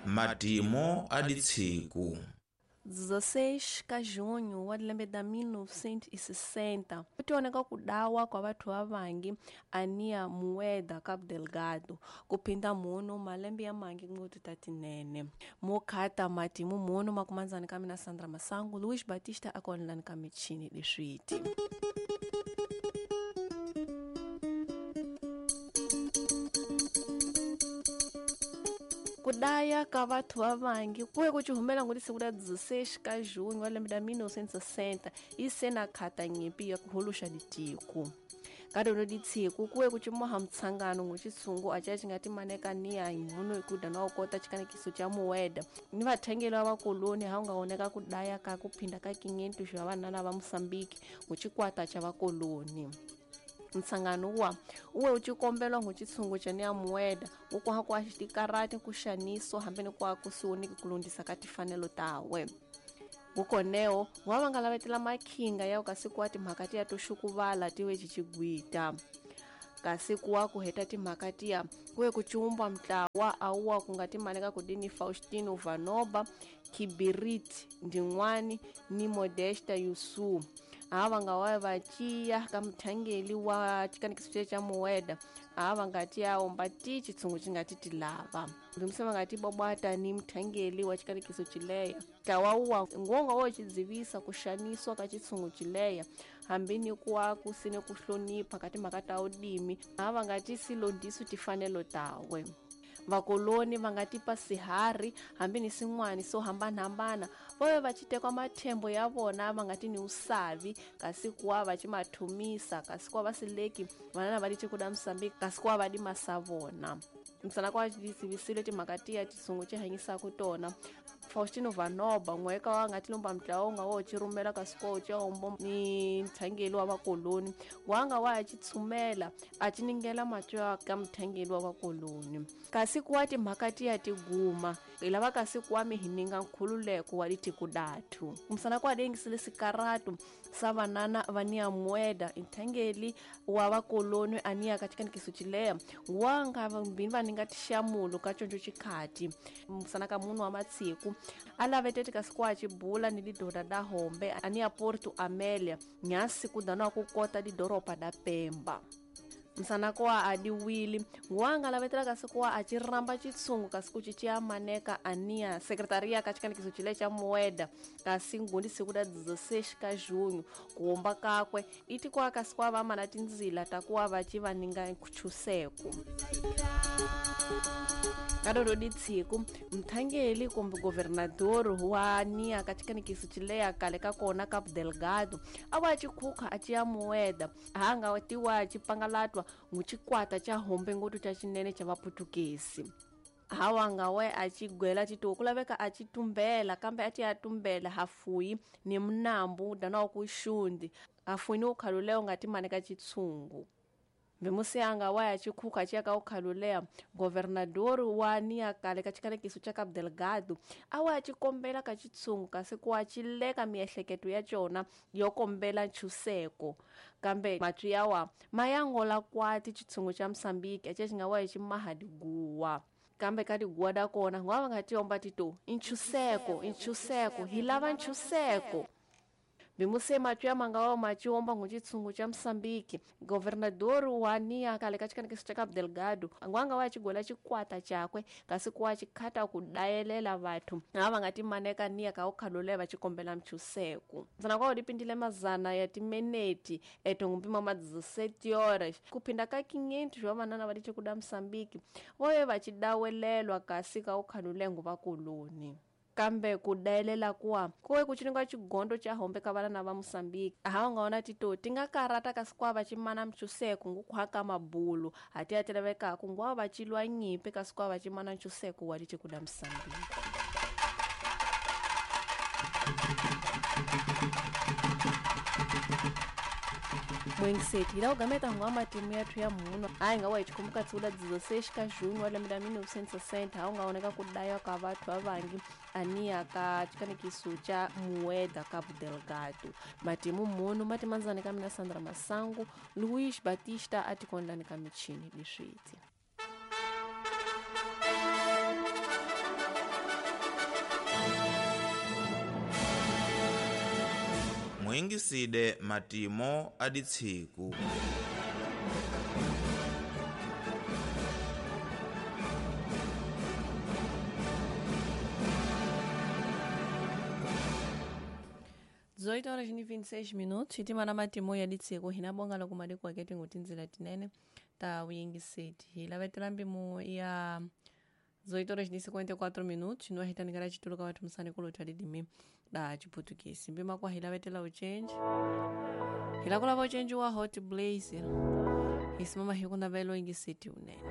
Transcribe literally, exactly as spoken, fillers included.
Matimo a ditshiku. dezesseis ka junho wa lembe da mil novecentos e sessenta kutioneka kudawa kwa vathu vavangi ania Mueda Cabo Delgado kuphinda muno malembe ya mangi ngoti tatinene mokhata matimu muno makumanzani ka mina Sandra Masangu Luis Batista akonelani ka michini leswiti. Kudaya ka vathu vavangi kuye ku chihumela ngoti siku ra dezesseis ka junho wa lembe ra mil novecentos e sessenta ise na khata nyimpi ya ku holoxa ditiko ka rona ditshiku kuye ku cimoha mutshangano ngutshitshungu a ci nga timaneka niya munhu hi ku da na u kota xikanekiso xa Mueda ni vathengeli va vakoloni ha u nga oneka ku daya ka ku phinda ka quinhentos va vanana va Moçambique nguxikwata xa vakoloni. Nsangano wa uwe uchikombelwa nguchitsungu cha nia Mueda ukwaha kwa xikarati ku xaniso hambi ni kwa kusiwoniki kulondisa ka tifanelo tawe ngukoneo wa va nga lavetela makhinga ya kasi kwa timhaka tiya to xukuvala tiwe cicigwita kasi kuwa ku heta timhaka tiya kuye ku ciumba mutlawa awuwa ku nga timaneka kudini Faustino Vanoba Kibirit Ndin'wani ni Modesta Yusu ava nga wa va ciya ka muthangeli wa xikanekiso xa Mueda ava nga ti ya omba ti xitshungu xi nga ti ti lava ndzi va nga ti bobata ni muthangeli wa xikanekiso xileya ntlawa wa ngonga wo xidzivisa ku xaniswa ka xitshungu xileya hambi ni kuwa ku sine ku hlonipha ka timhaka ta udimi ava nga ti silondiso tifanelo tawe. Vakoloni va nga tipa sihari hambi ni sin'wani swo hambanahambana voye va citekwa mathembo ya vona va nga ti ni usavi kasi kuwa va ci mathumisa kasi kuwa va sileki vanana va ditiko da Moçambique kasi kuwa va dimasa vona msana kwa disivisile timhaka tiya tisungu ci hanyisaka tona. Faustino Vanoba n'weka wa nga tilomba mutlawa nga wo ci rhumela kasi kuwa u ci hombo ni muthangeli wa vakoloni wa nga wa ya ci tshumela a ci ningela matwa ka muthangeli wa vakoloni kasi kuwa timhaka tiya tiguma hi lava kasi kuwa mi hi ninga nkhululeko wa ditiko dathu msana kwa dengisile sikaratu sa vanana va nia Mueda nthangeli wa vakoloni ania ka xikanekiso xileya wa nga mbini va ninga tixamulo ka conco xikhati msana ka munhu wa matsiku a lavetete kasi kuwa cibula ni lidoda da hombe ania Porto Amélia nyasi ku dana ku kota lidoropa da Pemba msana kwa adiwili wanga lavetela kasi kuwa a ci ramba xitshungu kasi ku cicia maneka ania sekretaria ka xikanekiso xile xa Mueda kasi ngundi siku da dezesseis ka junho ku homba kakwe iti kuwa kasi kuwa va mana tindzila ta kuwa va ci va ninga nchuseko. Ka rero ditshiku muthangeli kumbe governador wa nia ka xikanekiso xileya kale ka kona Cabo Delgado a wa cikhukha a ciya Mueda ha nga tiwa cipangalatwa nguxikwata xa hombe ngoti xa xinene xa vaputukezi hawa nga we a cigwela cito ku laveka a ci tumbela kambe a ti ya tumbela hafuyi ni munambu dana wa ku xundi hafuyi ni ukhaluleyo nga timaneka xitshungu. Mbemusiyanga wa ya cikhukha ci ya ka ukhaluleya governador wa nia kale ka xikanekiso xa Cabo Delgado a wa ya cikombela ka xitshungu kasi kuwa cileka miehleketo ya cona yo kombela nchuseko kambe matwi yawa ma ya ngola kwati xitshungu xa Moçambique a xi nga wa hi ximaha diguwa kambe ka tiguwa da kona ngwa va nga tiomba tito nchuseko nchuseko hi lava nchuseko. Bimuse matwi ya manga wa machiomba nguchitsungu cha Moçambique governador wa nia kale ka xikanekiso xa Cabo Delgado ngwanga wa xigola xikwata xakwe kasi kuwa xikhata ku dayelela vathu lava nga timaneka nia ka ukhalule va xikombela mchuseko ntsena kwa dipindile mazana ya timeneti etongumpima ma dezessete horas kuphinda ka quinhentos va vanana va ditiko da Moçambique voye va xidawelelwa kasi ka ukhalule ngu vakoloni kambe ku dayelela kuwa kuwe ku cininga xigondo xa hombe ka vana va Moçambique ha nga ona tito ti nga karata kasi kuwa va cimana mchuseko ngukhwa ka mabulu ha ti ya ti lavekaku nguwa va cilwa nyimpi kasi kuwa va cimana nchuseko wa ditiko da Moçambique. Mwengiseti hi la ku gameta ngwa matimu yathu ya munhu a hi nga wa hi xikhumbuka tsiula dezesseis ka junho wa lembe ra mil novecentos e sessenta ha u nga oneka ku daya ka vathu vavangi ania ka xikanekiso xa Mueda Cabo Delgado matimu munhu matimandzani ka mina Sandra Masangu Luis Batista a tikonlani ka michini leswiti. Muyingiside matimo a ditsiku. dezoito horas e vinte e seis minutos hitima na matimo ya ditseko hina bonga loko madiko ake tingutinzila tinene ta uyingiseti hi lavetela mpimo ya dezoito horas e cinquenta e quatro minutos no ahitanikala chituluka wathu musani kulotha lidimi da chiputukisi mpima kwa hilavetela uchenji hilakulava uchenji wa Hot Blazer hisimama hikunavela uyingiseti unene.